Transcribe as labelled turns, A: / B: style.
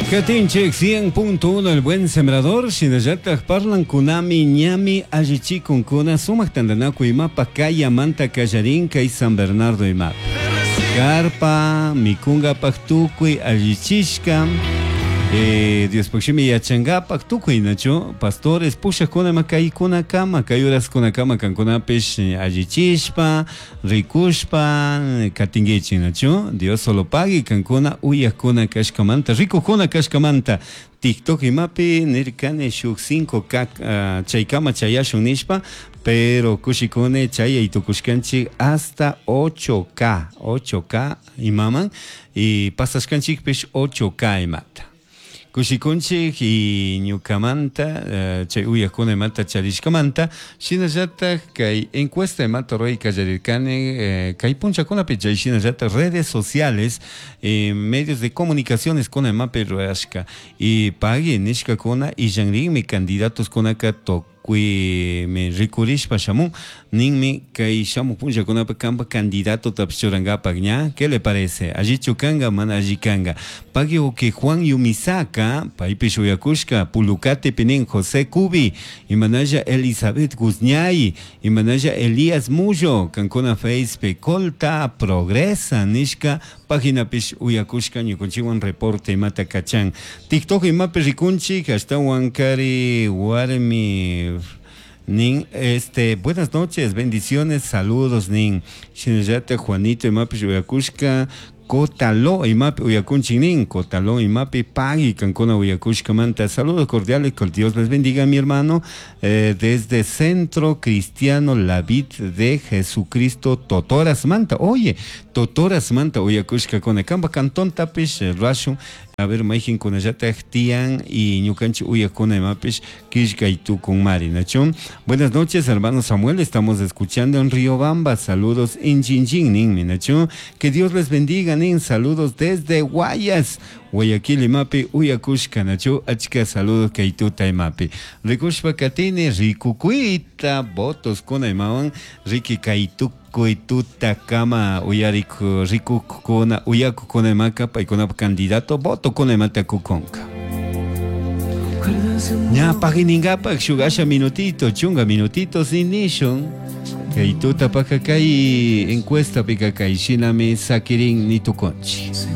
A: Katinchik 100.1 El Buen Sembrador, shinallataj parlankunami ñami allichikunkuna sumak tantanakuy imapa kayamanta kallarin kay San Bernardo imapi. Karpa mikunkapak tukuy allichishka Diospaj shimi yachankapak tukuy nachu pastores pushakuna ima kaykunakama kay horaskunakama kankunapish allichishpa Ricushpa catinguichi, nachu? Dios solo pagui cancuna uyajcuna cashcamanta, ricujcuna cashcamanta. TikTok imapi nircani shuj 5K chaicama chayashun nishpa, pero cushicuni chayai tucushcanchi hasta 8K, 8K imaman y pasashcanchicpish 8K imata. Kushikunchik y ñukamanta chay uyakuna imata charishkamanta, shinallatak kay encuesta imata ruray kallarirkani kay punchakunapi chay shinallatak redes sociales, medios de comunicaciones kuna imapi rurashka y pagui nishkakuna illanrinmi candidatoskunaka Tucuimi ricurishpa shamun, ninmi, cai shamuj punllacunapi canba candidatotapish churangapac ña? Qué le parece? Allichu canga, mana alli canga? Pagui uqui Juan Yumisaca, paipish uyacushca, Pulucatepi nin, José Cubi, imanalla Elizabeth Guzñay, imanalla Elías Mullo, cancuna Facepi Colta Progresa nishca Paginapish uyacushca ñucunchihuan reporte imata cachan. TikTok imapi ricunchij ashtahuan cari huarmi nin este buenas noches, bendiciones, saludos nin. Shinallata Juanito imapish uyacushca Cotaló imapi uyacunchij nin. Cotaló imapi pagui cancuna uyacushcamanta. Saludos cordiales, que Dios les bendiga mi hermano. Desde Centro Cristiano La Vid de Jesucristo Totorasmanta. Oye, Totorasmanta uyacushcacuna. Camba cantontapish rashun. A ver, mayjincunallataj tiyan y ñucanchik uyacuna imapish quillcay tucunmari, nachu? Buenas noches, hermano Samuel. Estamos escuchando en Riobamba. Saludos en Chinchín, ninmi, nachu? Que Dios les bendiga, nin. Saludos desde Guayas. Guayaquil imapi uyacushca, nachu? Achca saludos kay tuta imapi. Ricushpa catini ricucuita votos cuna imawan riqui kay tucuy tuta kama uyarik ricuccuna uyacucuna imaka paicunapa candidato voto cuna imata cucunca. Ña paginingapak shuk asha minutito, chunga minutitos nishun. Kay tutapaka kay encuestapika kay shinami sakirin nitukunchik.